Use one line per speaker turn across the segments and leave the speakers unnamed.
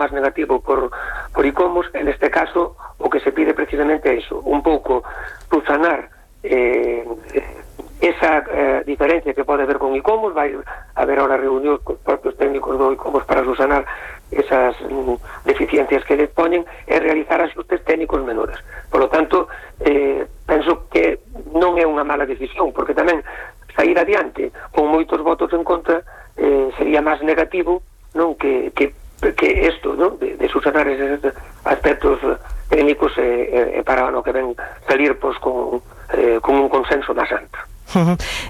máis negativo por ICOMOS. En este caso o que se pide precisamente é iso, un pouco subsanar esa diferencia que pode haber con ICOMOS. Vai haber ahora reunións cos propios técnicos do ICOMOS para subsanar esas deficiencias que les poñen e realizar axustes técnicos menores. Por lo tanto, penso que non é unha mala decisión, porque tamén sair adiante con moitos votos en contra sería máis negativo, non, que isto, non, de subsanar esos aspectos técnicos para o que ven salir con un consenso máis alto.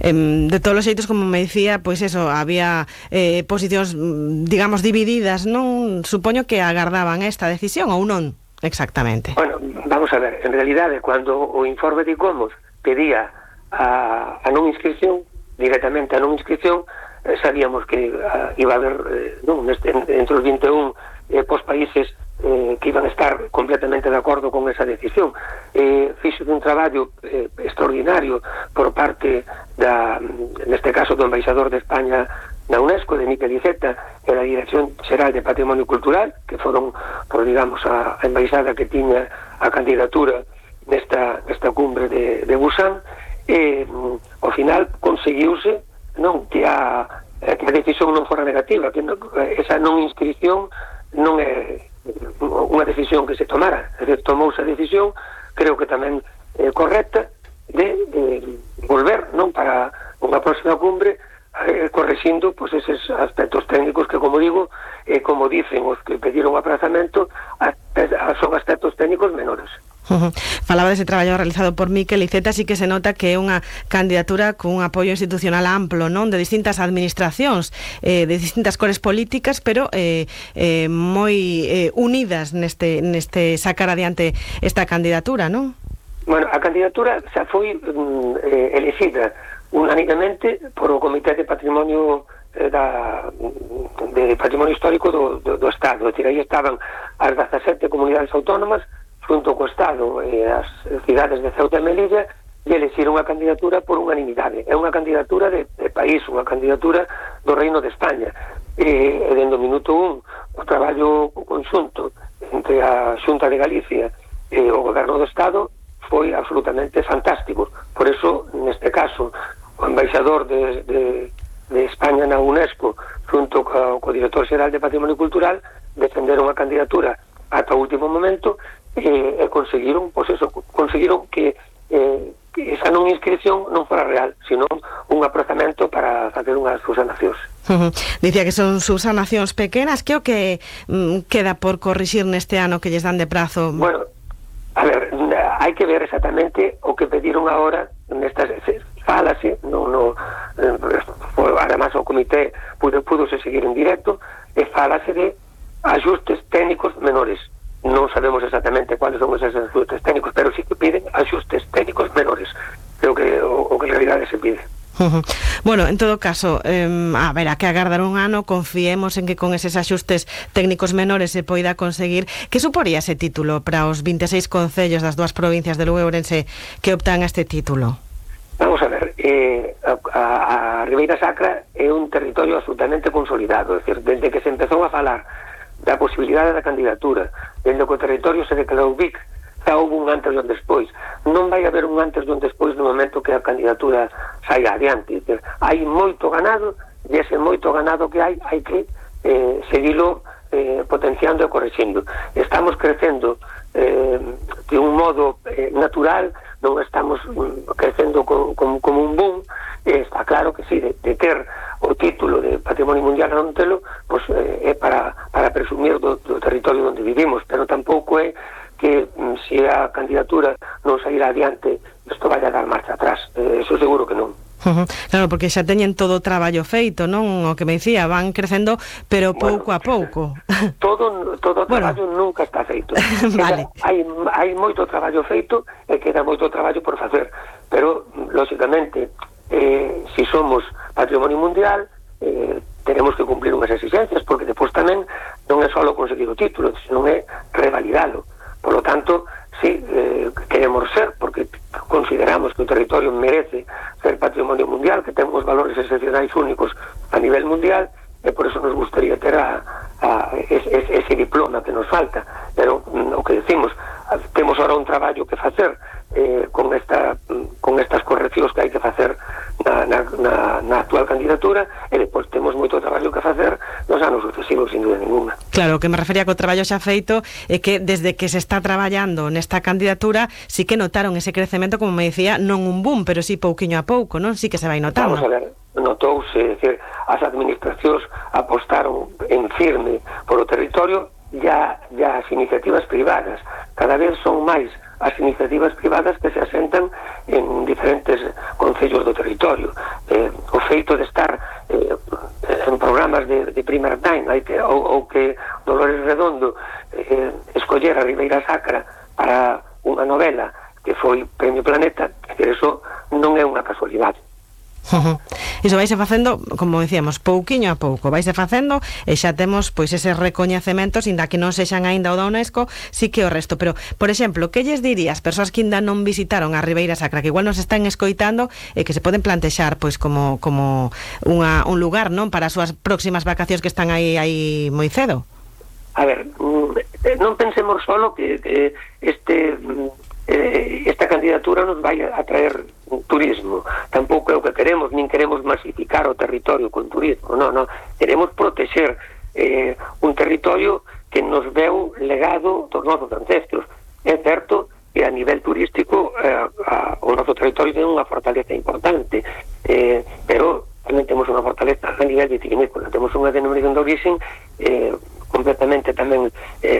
De todos os xeitos, como me dicía, pois eso, había posicións, digamos, divididas, non? Supoño que agardaban esta decisión ou non exactamente.
Bueno, vamos a ver, en realidade, cando o informe de ICOMOS pedía a non inscripción, directamente a non inscripción, sabíamos que iba a haber entre os 21 países que iban a estar completamente de acordo con esa decisión. Fixo un traballo extraordinario por parte neste caso do embaixador de España na UNESCO, de Miquel Iceta, e da Dirección Xeral de Patrimonio Cultural, que foron, digamos, a embaixada que tiña a candidatura nesta cumbre de Busan. Ao final conseguiuse, non, que a decisión non fora negativa, que esa non inscripción non é unha decisión que se tomara. Tomouse a decisión, creo que tamén correcta, de volver, non, para unha próxima cumbre, correxindo pois eses aspectos técnicos que, como digo, como dicen os que pediron o aprazamento, son aspectos técnicos menores.
Falaba dese traballo realizado por Miquel Iceta. Sí que se nota que é unha candidatura con un apoio institucional amplo, non, de distintas administracións, de distintas cores políticas, pero moi unidas neste sacar adiante esta candidatura, non?
Bueno, a candidatura xa foi elexida unanimemente por o Comité de Patrimonio de Patrimonio Histórico do Estado. É dicir, aí estaban as 17 comunidades autónomas junto co Estado e as cidades de Ceuta e Melilla, e elexiron unha candidatura por unanimidade. É unha candidatura de país, unha candidatura do Reino de España. E dende o minuto 1 o traballo conxunto entre a Xunta de Galicia e o Goberno do Estado foi absolutamente fantástico. Por eso, neste caso, o embaixador de España na UNESCO junto co director xeral de Patrimonio Cultural defenderon a candidatura ata o último momento e conseguiron, pois eso, conseguiron que esa non inscripción non fora real, sino un aprazamento para facer unhas subsanacións.
Dicía que son subsanacións pequenas. Que o que queda por corrixir neste ano que lles dan de prazo?
Bueno, a ver, hai que ver exactamente o que pediron agora nestas fálase, además o comité pudose seguir en directo, e fálase de axustes técnicos menores. Non sabemos exactamente cuáles son esos axustes técnicos, pero sí que piden axustes técnicos menores. Creo que o que en realidade se pide.
Bueno, en todo caso, haberá que agardar un ano. Confiemos en que con eses axustes técnicos menores se poida conseguir. Que suporía ese título para os 26 concellos das dúas provincias de Lugo e Ourense que optan a este título?
Vamos a ver, a Ribeira Sacra é un territorio absolutamente consolidado. É dicir, desde que se empezou a falar da posibilidade da candidatura, dende que o territorio se declarou BIC, xa houve un antes e un despois. Non vai haber un antes e un despois no momento que a candidatura saia adiante. Hai moito ganado, e ese moito ganado que hai que seguilo potenciando e correxindo. Estamos crecendo de un modo natural, non estamos crecendo como un boom. Está claro que sí, de ter o título de Patrimonio Mundial a non telo, pois é para presumir do territorio onde vivimos, pero tampouco é que se a candidatura non sairá adiante isto vai a dar marcha atrás. Eso seguro que non.
Claro, porque xa teñen todo o traballo feito, non? O que me dicía, van crecendo, pero pouco a pouco.
Todo o traballo nunca está feito.
Vale.
Hai moito traballo feito e queda moito traballo por facer, pero, lógicamente, se somos Patrimonio Mundial, tenemos que cumplir unhas exigencias, porque depois tamén non é só conseguir o título, senón é revalidalo. Por lo tanto, sí, queremos ser, porque consideramos que o territorio merece ser Patrimonio Mundial, que temos valores excepcionais únicos a nivel mundial, e por eso nos gustaría ter ese diploma que nos falta, pero o que decimos, temos ahora un traballo que facer con estas correccións que hai que facer na actual candidatura, e depois temos moito traballo que facer nos anos sucesivos, sin dúda ninguna.
Claro, o que me refería co traballo xa feito é que desde que se está traballando nesta candidatura sí que notaron ese crecemento, como me decía, non un boom, pero sí pouquiño a pouco, non? Sí que se vai notando.
Vamos a ver, notouse, decir, as administracións apostaron en firme por o territorio, ya as iniciativas privadas, cada vez son máis as iniciativas privadas que se asentan en diferentes concellos do territorio. O feito de estar en programas de primer time, ou que Dolores Redondo escollera Ribeira Sacra para unha novela que foi Premio Planeta, que eso non é unha casualidade.
Iso vaise facendo, como decíamos, pouquiño a pouco vaise facendo, e xa temos pois eses recoñecementos, inda que non sexan aínda o da UNESCO, sí que o resto. Pero, por exemplo, que lles dirías persoas que ainda non visitaron a Ribeira Sacra, que igual nos están escoitando e que se poden plantexar pois como un lugar, non, para as súas próximas vacacións que están aí moi cedo?
A ver, non pensemos solo que esta candidatura nos vai a traer turismo, tampouco é o que queremos, nin queremos masificar o territorio con turismo, non, queremos protexer un territorio que nos veu legado dos nosos ancestros. É certo que a nivel turístico o noso territorio ten unha fortaleza importante, pero tamén temos unha fortaleza a nivel vitivinícola, temos unha denominación de origen completamente tamén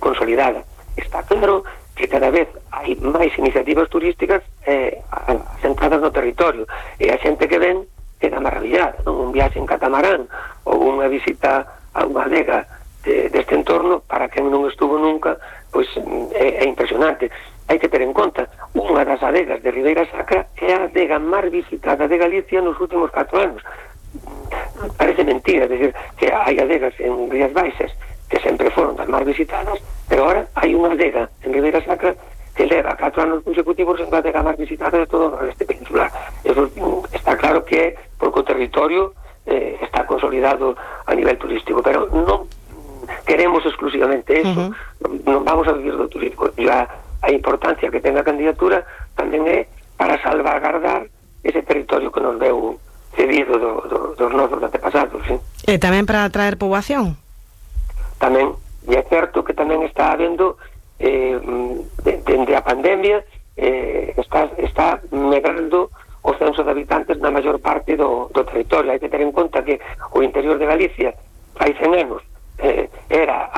consolidada. Está claro que cada vez hai máis iniciativas turísticas asentadas no territorio, e a xente que ven queda maravillada, non? Un viaxe en catamarán ou unha visita a unha adega deste entorno, para quen non estuvo nunca, pois é impresionante. Hai que ter en conta, unha das adegas de Ribeira Sacra é a adega máis visitada de Galicia nos últimos 4 anos. Parece mentira, decir, que hai adegas en Rías Baixas que sempre foron das máis visitadas, pero ahora hai unha adega en Ribeira Sacra que leva 4 anos consecutivos en a adega máis visitada de todo o nordeste peninsular. Eso está claro que é porque o territorio está consolidado a nivel turístico, pero non queremos exclusivamente eso, non vamos a vivir do turismo. A importancia que ten a candidatura tamén é para salvaguardar ese territorio que nos veu cedido dos nosos antepasados, ¿sí?
E tamén para atraer poboación?
Tamén, e é certo que tamén está habendo dende a pandemia está medrando o censo de habitantes na maior parte do territorio. Hai que ter en conta que o interior de Galicia hai 100 anos era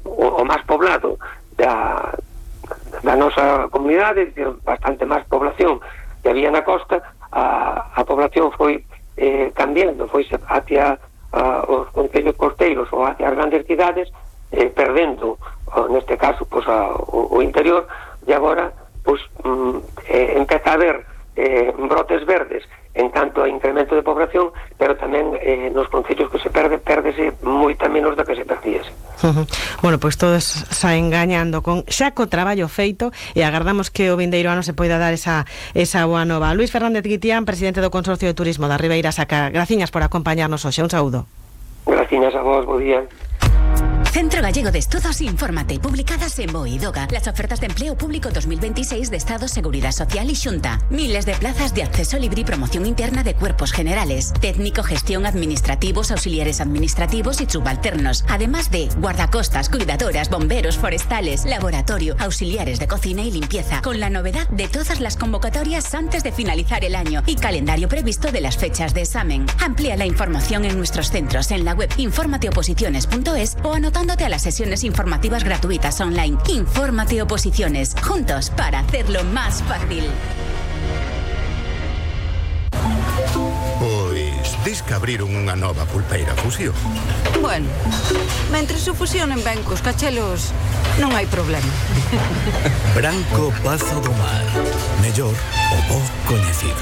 o máis poblado da nosa comunidade, bastante máis población que había na costa. A población foi cambiando, foi hacia os concellos costeiros ou hacia as grandes cidades, perdendo neste caso pois, o interior, e agora pois, empeza a haber brotes verdes en canto a incremento de población, pero tamén nos concellos que se pérdese moita menos da que se perdíase.
Bueno, pois todos saen gañando con xa co traballo feito, e agardamos que o vindeiro ano se poida dar esa boa nova. Luís Fernández Guitián, presidente do Consorcio de Turismo da Ribeira Sacra, graciñas por acompañarnos hoxe, un saúdo.
Graciñas a vos, bo día.
Centro Gallego de Estudos Infórmate, publicadas en BOE y DOGA. Las ofertas de empleo público 2026 de Estado, Seguridad Social y Xunta. Miles de plazas de acceso libre y promoción interna de cuerpos generales, técnico, gestión, administrativos, auxiliares administrativos y subalternos. Además de guardacostas, cuidadoras, bomberos, forestales, laboratorio, auxiliares de cocina y limpieza. Con la novedad de todas las convocatorias antes de finalizar el año y calendario previsto de las fechas de examen. Amplía la información en nuestros centros en la web informateoposiciones.es o anotándote a las sesiones informativas gratuitas online. Infórmate Oposiciones, juntos para hacerlo más fácil.
Pois, dis que abriron unha nova pulpeira Fusión.
Bueno, mentre se fusionen ben cos cachelos, non hai problema.
Branco Pazo do Mar, mellor o bo coñecido.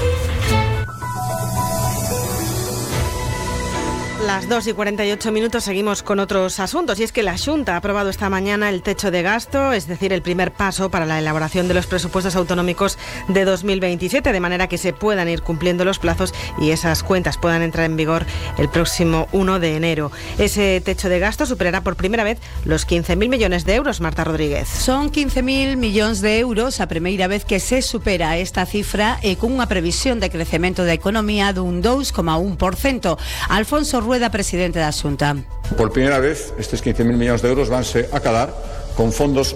Las 2:48, seguimos con otros asuntos, y es que la Xunta ha aprobado esta mañana el techo de gasto, es decir, el primer paso para la elaboración de los presupuestos autonómicos de 2027, de manera que se puedan ir cumpliendo los plazos y esas cuentas puedan entrar en vigor el próximo 1 de enero. Ese techo de gasto superará por primera vez los 15.000 millones de euros, Marta Rodríguez.
Son 15.000 millóns de euros a primeira vez que se supera esta cifra e con unha previsión de crecemento da economía dun 2,1%. Alfonso Rueda, presidente da Xunta.
Por primera vez, estes 15.000 millóns de euros vanse acadar con fondos